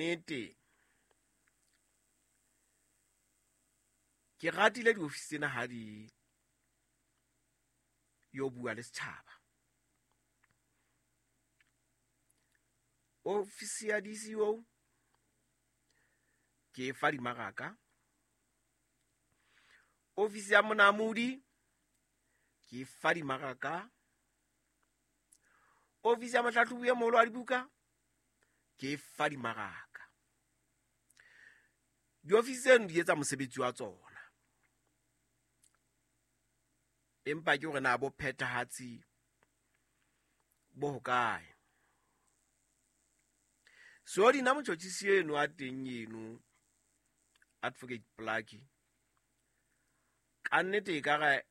nnete ke ratile diofisi tsena ha di yo bua le setjhaba. Ofisi ya DCO ke e fa dimaraka. Ofisi ya monamodi ke e fa dimaraka. Ofisi ya mohlahlobi e moholo wa dibuka ke e fa dimaraka. Diofisi tseno di etsa mosebetsi wa tsona, empa ke hore na bo phethahatsi bo hokae. So dina motjhotjhisi eno a teng eno, Advocate Plaki, ka nnete e ka re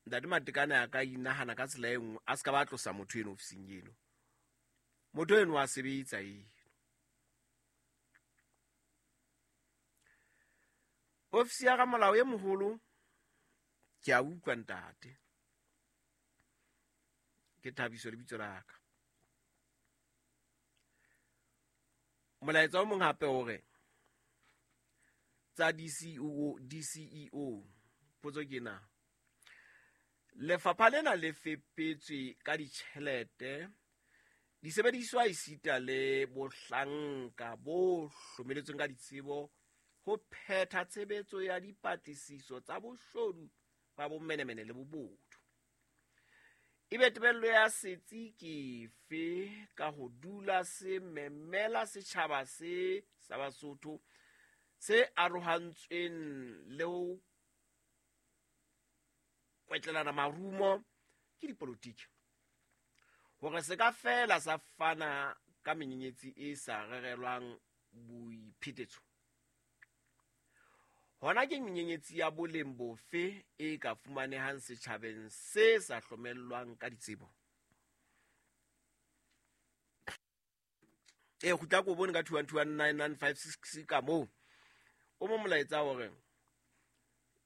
Ntate Matekane a ka inahana ka tsela e nngwe, a se ka ba tlosa motho eno ofising eno. Motho eno a sebetsa eno. Ofisi ya ramolao e moholo, ke a utlwa ntate. Ke Thabiso lebitso la ka. Molaetsa o mong hape o re tsa DCEO, DCEO potso ke na lefapha lena le fepetswe ka ditjhelete, disebediswa esita le bohlanka bo hlomeletsweng ka ditsebo ho phetha tshebetso ya dipatlisiso tsa boshodu ba bomenemene le bobodu. Ebe tebello ya setsi ke efe ka ho dula se memela setjhaba se sa Basotho se arohantsweng le ho kwetlelana marumo ke dipolotiki hore se ka fela sa fana ka menyenyetsi e sa rerelwang boiphetetso? Hona ke menyenyetsi ya boleng bofe e ka fumanehang setjhabeng se sa hlomellwang ka ditsebo? E kgutla ko bone ka 2129956 ka moo o mo molaetsa hore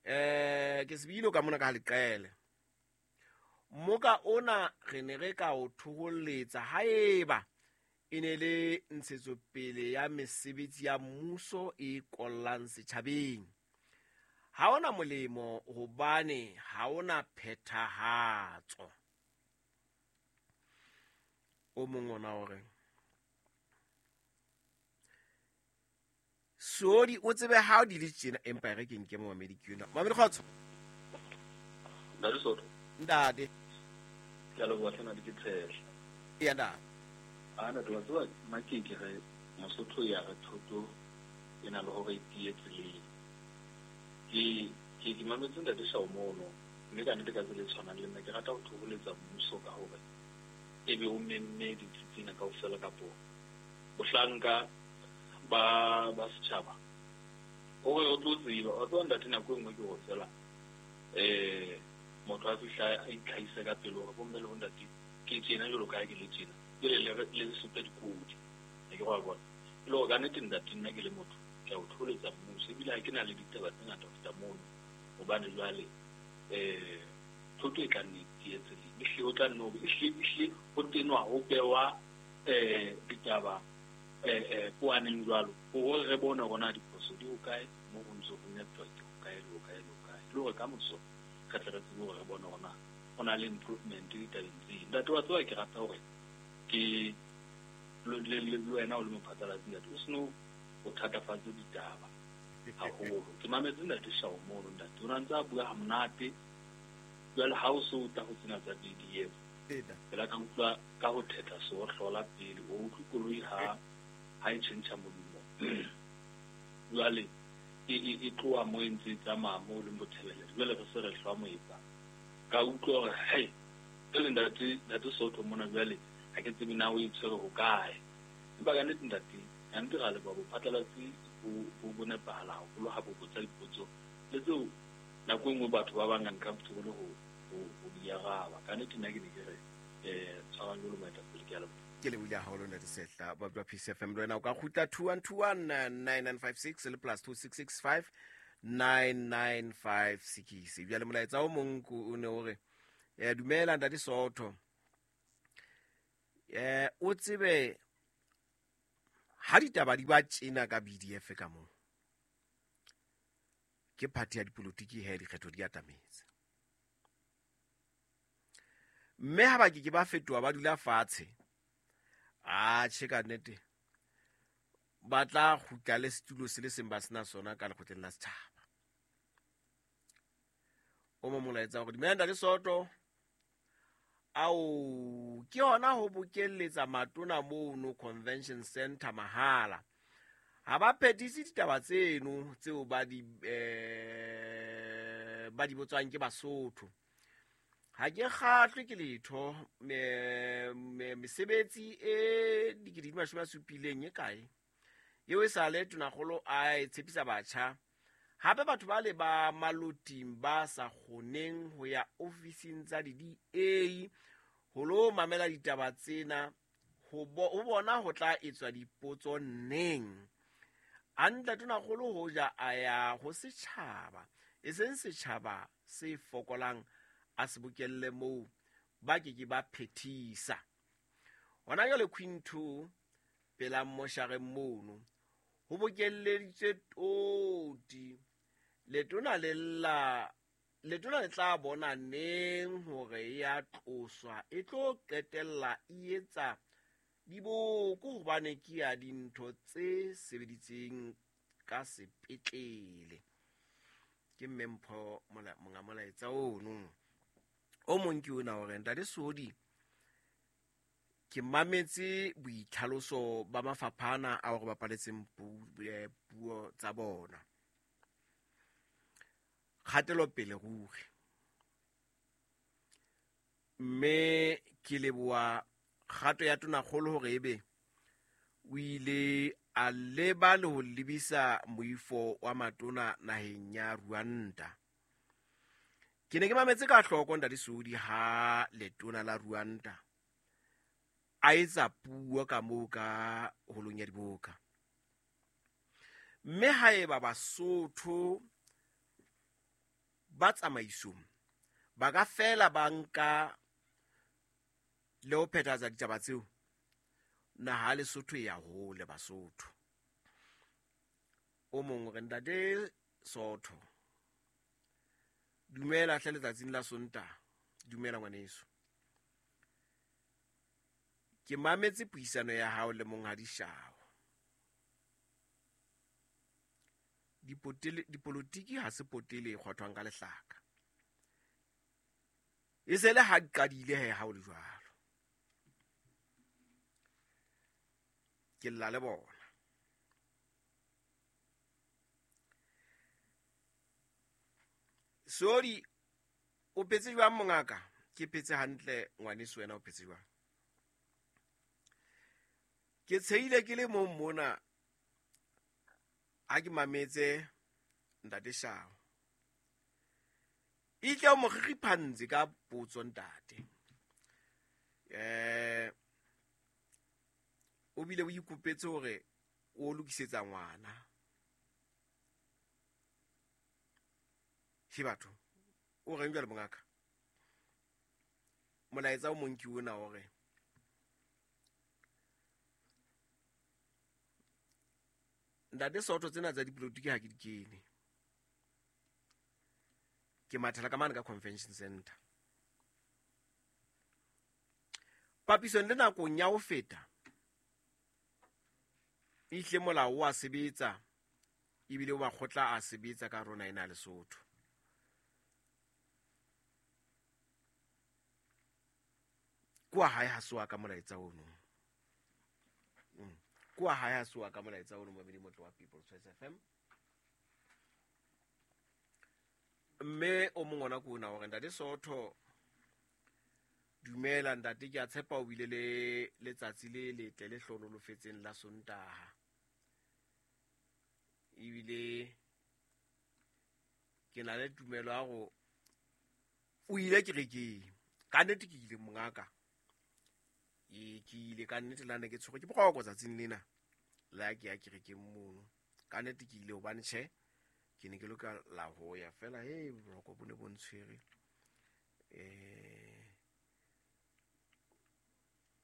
ke sebilo ka mona ka leqele moka ona re ne re ka o thoholetsa haeba e ne le ntshetsopele ya mesebetsi ya mmuso e kollang setjhabeng. Ha ona molemo hobane ha ona phethahatso. O mong ona o re Sodi o tsebe ha di le tjena, empa e re ke nke momamedi ke yona. Mamedi kgotso. Ntate Soto. Ntate. Ke a leboha hle ntate ke Tshehla. Eya ntate. A ntate wa tseba nna ke ke re Mosotho ya re thoto e na le hore e tiye tseleng. Ke ke ke mametse ntate Shao mono mme ka nnete ka tsela e tshwanang le nna ke rata ho thoholetsa mmuso ka hore ebe o memme ditsi tsena kaofela kapo bohlanka ba ba setjhaba hore re tlo tseba. Wa tseba ntate nako e nngwe ke hore feela motho a fihla a itlhahise ka pele hore bomme le bontate ke tjena jwalo ka ha ke le tjena, jwale le le supe dikodi. Ha ke re wa bona? E le hore ka nnete ntate nna ke le motho ke a o thoholetsa mmuso ebile ha ke na le ditaba tse ngata ho feta mono hobane jwale thoto e tla nne e tiye tseleng. Ehlile ho tla nne ho ehlile ehlile ho tenwa ho bewa ditaba poaneng jwalo hore re bone hore na diphoso di hokae moo ho ntse ho neptwa ke hokae le hokae le hokae, le hore ka moso re tle re tsebe hore re bone hore na ho na le improvement ditabeng tseo. Ntate wa tseba ke rata hore ke le le wena o le mophatlalatsi ntate o seno o thatafatse ditaba haholo. Ke mametse ntate Shao mono ntate o na ntse a bua ha monate jwale ha o so o tla ho tsena tsa BDF pela ka utlwa ka ho thetha seohlola pele o utlwe koloi ha ha e tjhentjha modumo jwale e e e tloha mo e ntse e tsamaya mo leng bothebelele jwale re se re hlwa moepa ka utlwa hore hei jwale ntate ntate Soto mona jwale ha ke tsebe na o e tshwere hokae empa ka nnete ntate ka nnete ra leboha bophatlalatsi bo bo bo nepahala haholo ha bo botsa dipotso le tseo nako e nngwe batho ba bang uncomfortable ho ho ho di araba. Ka nnete nna ke ne ke re tshwarang jwalo moetapele ke a leboha. Ke lebohile haholo ntate Sehla ba bua Peace FM le wena o ka kgutla 2121 9956 le plus 2665 9956. Bjale molaetsa o mong o ne o re dumela ntate Soto, o tsebe Ha ditaba di ba tjena ka BDF ka moo, ke party ya dipolotiki he dikgetho di atametse. Mme ha ba ke ke ba fetoha ba dula fatshe, atjhe ka nnete ba tla kgutla le setulo se le seng ba sena sona ka lekgotleng la setjhaba. O mo molaetsa hore dumela Ntate Soto, ao ke hona ho bokelletsa matona mono convention center mahala. Ha ba phethise ditaba tseno tseo ba di botswang ke Basotho. Ha ke kgahlwe ke letho, mesebetsi e 17,000 e kae eo e sale tonakgolo a e tshepisa batjha. Hape batho ba le ba maloting ba sa kgoneng ho ya ofising tsa di-DA ho lo mamela ditaba tsena, ho bona ho tla etswa dipotso neng. Hantle tonakgolo hoja a ya ho setjhaba, e seng setjhaba se fokolang a se bokelle moo ba ke ke ba phethisa. Hona jwale Queen 2 pela moshareng mono ho bokelleditswe toti. Letona le tla bona neng hore ya tloswa e tlo qetella e etsa diboko hobane ke ya dintho tse sebeditseng ka sepetlele. Ke mme Mpho monga molaetsa ono. O mong ke ona hore Ntate Sodi, ke mametse boitlhaloso ba mafaphana a hore bapaletseng puo tsa bona. Kgatelopele ruri. Mme ke leboha kgato ya tonakgolo hore ebe o ile a leba le ho lebisa moifo wa matona naheng ya Rwanda. Ke ne ke mametse ka hloko Ntate Sodi ha letona la Rwanda a etsa puo ka moo ka holong ya diboka. Mme haeba Basotho ba tsamaisong ba ka fela ba nka le ho phethahatsa ditaba tseo, naha Lesotho e ya hole Basotho. O mong o re Ntate Sotho, dumela hle letsatsing la Sontaha. Dumela ngwaneso. Ke mametse puisano ya hao le Monghadi Shao. Dipolotiki ha se potele e kgwathwang ka lehlaka. E se le ha di qadile he ha o le jwalo. Ke lla le bona. Sodi, o phetse jwang mongaka? Ke phetse hantle ngwaneso, wena o phetse jwang? Ke tsheile ke le mong mona ha ke mametse Ntate Shao. Itle o mo kgikgiphantse ka potso ntate. O bile o ikopetse hore o lokisetsa ngwana. Ke batho o reng jwale mongaka? Molaetsa o mong ke ona hore Ntate Sotho tsena tsa dipolotiki ha ke di kene. Ke mathela ka mane ka convention center. Papisong le nakong ya ho feta, ehle molao wa sebetsa ebile o makgotla a sebetsa ka rona ena Lesotho. Kwa hae ha soa ka molaetsa ono. Kwa hae ha soa ka molaetsa ono momedi motlo wa People's Choice FM. Mme o mong ona ke ona hore Ntate Sotho, dumela ntate, ke a tshepa o bile le letsatsi le letle le hlonolofetseng la Sontaha. Ebile ke na le tumelo ya hore o ile kerekeng. Ka nnete ke ile mongaka. Ke ile ka nnete la ne ke tshwerwe ke boroko tsatsing lena la ke ya kerekeng mono. Ka nnete ke ile hobane tjhe ke ne ke lokela ho ya fela, he boroko bo ne bo ntshwere.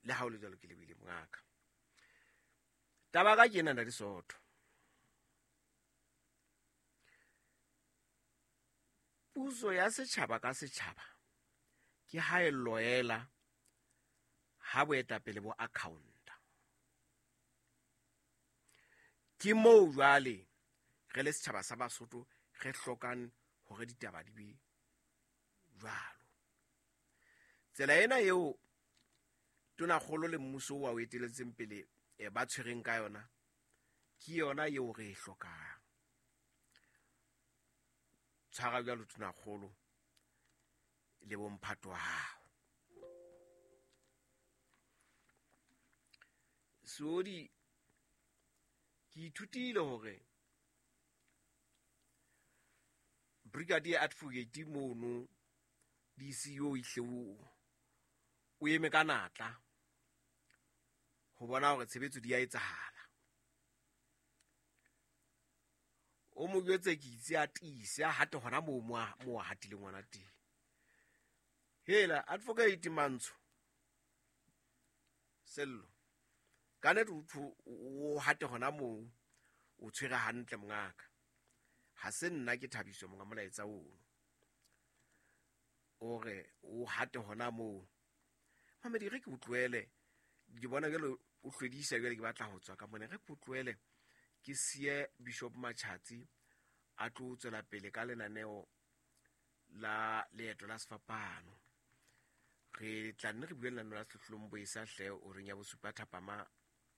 Le ha o le jwalo ke lebile mongaka. Taba ka ke ena ntate Soto. Puso ya setjhaba ka setjhaba ke ha e loela ha boetapele bo accounta. Ke moo jwale re le setjhaba sa Basotho re hlokang hore ditaba di be jwalo. Tsela ena eo tonakgolo le mmuso wa o eteletseng pele ba tshwereng ka yona ke yona eo re e hlokang. Tshwara jwalo tonakgolo le bomphato wa hao. Seodi ke ithutile hore brigadier advocate mono DCO ihle o eme ka natla ho bona hore tshebetso di a etsahala. O mo jwetse ke itse a tiise a hate hona moo mo a hatileng ngwana teng. Hela advocate Mantsho Sello ka nnete o hate hona moo o tshwere hantle mongaka. Ha se nna ke thabiso monga molaetsa ono. O re o hate hona moo. Mamedi re ke utlwele ke bona jwale o hlwedisa jwale ke batla ho tswa ka mona re ke utlwele ke siye Bishop Machatsi a tlo tswela pele ka lenaneo la leeto la sefapano. Re tla nne re bue lenaneo la Sehlohlolong Boesa hle o reng ya bosupa thapama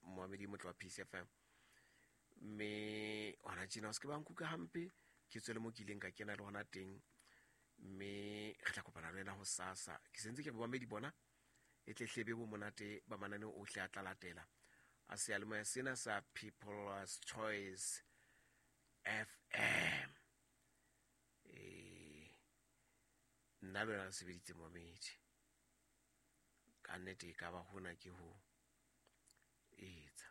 moamedi motlo wa Peace FM. Mme hona tjena o se ke ba nkuka hampe ke tswele mo ke ileng ka kena le hona teng mme re tla kopana le wena ho sasa. Ke sentse ke re boamedi bona e tle hlebe bo monate ba mananeo ohle a tla latela a seyalemoya sena sa People's Choice FM. Nna le wena re sebeditse moamedi ka nnete e ka ba hona ke ho etsa.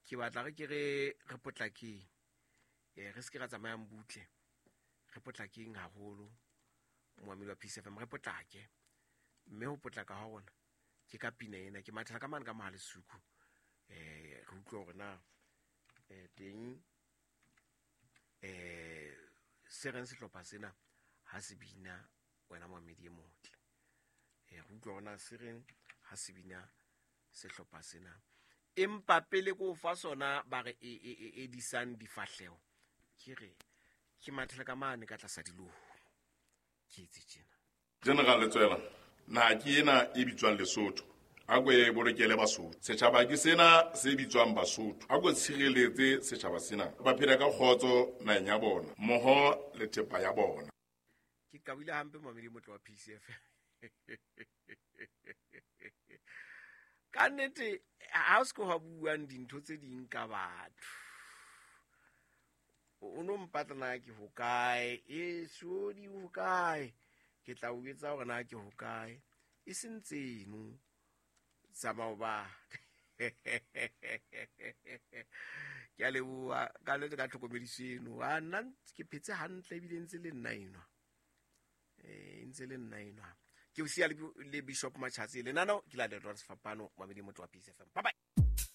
Ke batla re ke re potlakeng re se ke ra tsamayang butle re potlakeng haholo moamedi wa Peace FM re potlake mme ho potlaka ha rona ke ka pina ena ke mathela ka mane ka mohale suku re utlwe hore na teng se reng sehlopha sena ha se bina wena moamedi e motle re utlwe hore na se reng ha se bina sehlopha sena empa pele ko fa sona ba re e disang difahleho ke re ke mathela ka mane ka tlasa dilomo ke etse tjena. General Letsoela na ke ena e bitswang Lesotho a ko e bolokele Basotho. Setjhaba ke sena se bitswang Basotho a ko tshireletse setjhaba sena ba phela ka kgotso naheng ya bona mmoho le thepa ya bona. Ke kabile hampe moamedi motlo wa PCF. Ka nnete ha o se ke wa buang dintho tse ding ka batho. O no mpatla na ke hokae e sodi hokae ke tla o etsa hore na ke hokae e seng tseno tsa maoba. Ke a leboha ka nnete ka tlhokomediso eno. A nna ke phetse hantle ebile ntse le nna enwa. Ntse le nna enwa. Ke o siya le Bishop Machatsi lenaneo ke la Leeto la Sefapano moamedi motlo wa Peace FM. Bye bye.